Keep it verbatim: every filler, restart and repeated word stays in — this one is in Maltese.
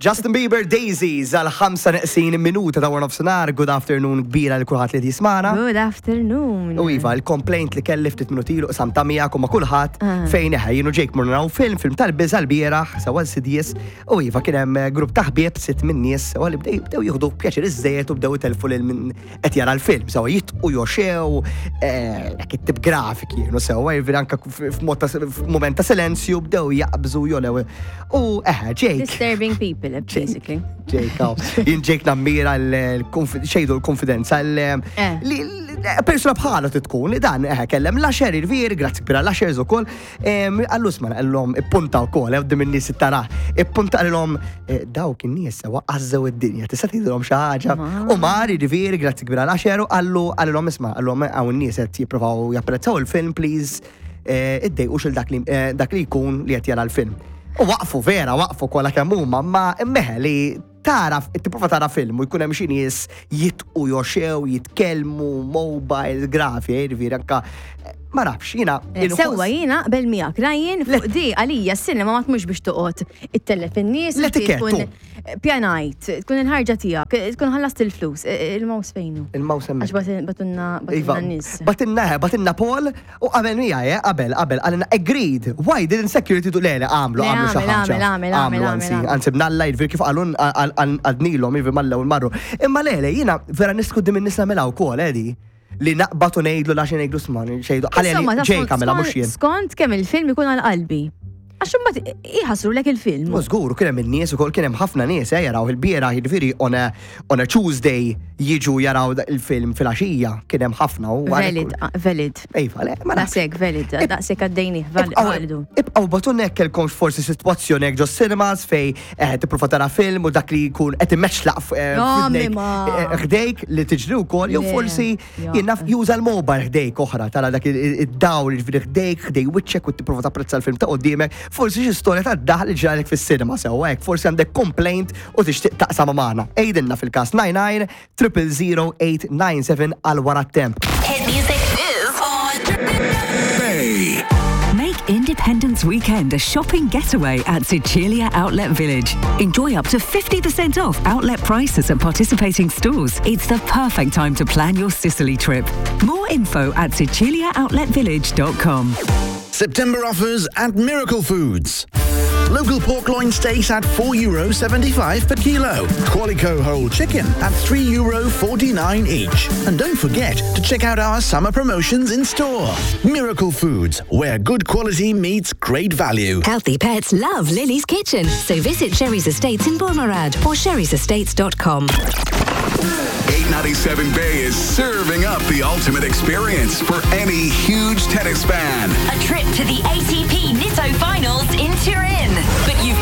Justin Bieber, Daisies, għal ħamsa neqsin minuta ta' nofsinhar. Good afternoon kbira li kulħadd li jismagħna. Good afternoon. U iva, il-complaint li kelli ftit minuti ilu qsamtha miegħek u ma' kulħadd Ah. fejn eħe jien u Jake morna naraw film, film tal-biża' l-bieraħ, sewa Insidious, u iva kien hemm grupp ta' ħbieb, sitt minn nies, sewa li bdew bdew jieħdu pjaċir iżżejjed u bdew itelfu lil min qed jara l-film, sewa jitqu joxew, eh, hekk it-tip grafiki kienu sewa, jiġifieri anke f'mod ta' f'mument ta' silenzju bdew jaqbżu jolew. U eħe, Jake. Disturbing people, basically. Jake, aw. Jien Jake nammira xejdu l-konfidenza l- Eh. li li- persuna bħalu tkun li dan eh, kellem l-usher il-vir, grazzi kbira l-ushers ukoll, għallu sma għallhom ippunta wkoll, eh, quddiem in-nies tara, ippunta għallhom eh, dawk in-nies sewa għazzew id-dinja, tista' tgħidilhom xi ħaġa. U mar il-vir, grazzi kbira l-usher, u għallu għallhom isma' għallhom hawn in-nies qed jippruvaw japprezzaw il-film, please, eh, iddejqux il dak li eh, dak li jkun li qed jara l-film. U waqfu vera, waqfu kollha kemm huma, ma immeħe li tara, tipprova tara film u jkun hemm xi nies jitqu joxew, jitkellmu, mobile, grafi, jiġifieri anka ma nafx, jiena Eh, inħoss- Sewwa jiena qbel miegħek, Ryan, fuq di għalija s-sinema ma tmux biex toqgħod ittellef in-nies, inti L-etikettu. tkun pjanajt, tkun il-ħarġa tiegħek, tkun ħallast il-flus, eh, il-mouse fejnu? Il-mouse hemmhekk. Għax batin- batunna Iva, batunna n-nies. Batinna, batinna Paul u qabel miegħi, eh, qabel, qabel, għalina agreed. Why didn't security do le, le, għamlu, Le, għamlu xi għamel, ħaġa. għamel, għamel, Għamlu, għamel, anzi, għamel. anzi, bnalla jiġifieri kif għalun għadnilhom, jiġifieri mal-ewwel marru. Imma le, le, jiena vera nisku dim in-nies nagħmilha wkoll, edi. Li naqbatu ngħidlu lax ngħidlu sma, xejdu. Ħalli Insomma, ta' Jake skont- għamilha mhux jien. Skont kemm il-film ikun għal qalbi. Għax imbagħad iħassrulek il-film. U żgur, kien hemm in-nies ukoll kien hemm ħafna nies eh, jaraw il-bieraħ, jiġifieri on a, on a Tuesday jiġu jaraw da- il-film fil-għaxija, kien hemm ħafna u Valid, ah, valid. Iva, le, ma nafx. Daqshekk valid, daqshekk għaddejni, validu. Ibqaw batunna jekk kellkomx forsi sitwazzjoni hekk ġo cinemas fej eh, tipprova tara film u dak li jkun qed immeċlaq eh, No, f'widnejk, ma. eh, ħdejk li tiġri wkoll jew Le, forsi ja. jien naf juża l-mobile ħdejk oħra tara dak il- il- id-dawl jiġifieri ħdejk ħdej wiċċek u tipprova tapprezza l-film ta' qudiemek, forsi xi storja ta' daħ li ġralek fis-cinema sewwa hekk, forsi għandek complaint u tixtieq taqsam magħna. Għidilna fil-każ nine nine triple zero eight nine seven għal wara t-temp. Hit music is on. Bay. Make Independence Weekend a shopping getaway at Sicilia Outlet Village. Enjoy up to fifty percent off outlet prices at participating stores. It's the perfect time to plan your Sicily trip. More info at siciliaoutletvillage dot com. September offers at Miracle Foods. Local pork loin steaks at four euro seventy-five per kilo. Qualico whole chicken at three euro forty-nine each. And don't forget to check out our summer promotions in store. Miracle Foods, where good quality meets great value. Healthy pets love Lily's Kitchen, so visit Sherry's Estates in Burmarrad or sherrysestates dot com. eight ninety-seven Bay is serving up the ultimate experience for any huge tennis fan. A trip to the A T P Nitto Finals in Turin. But you've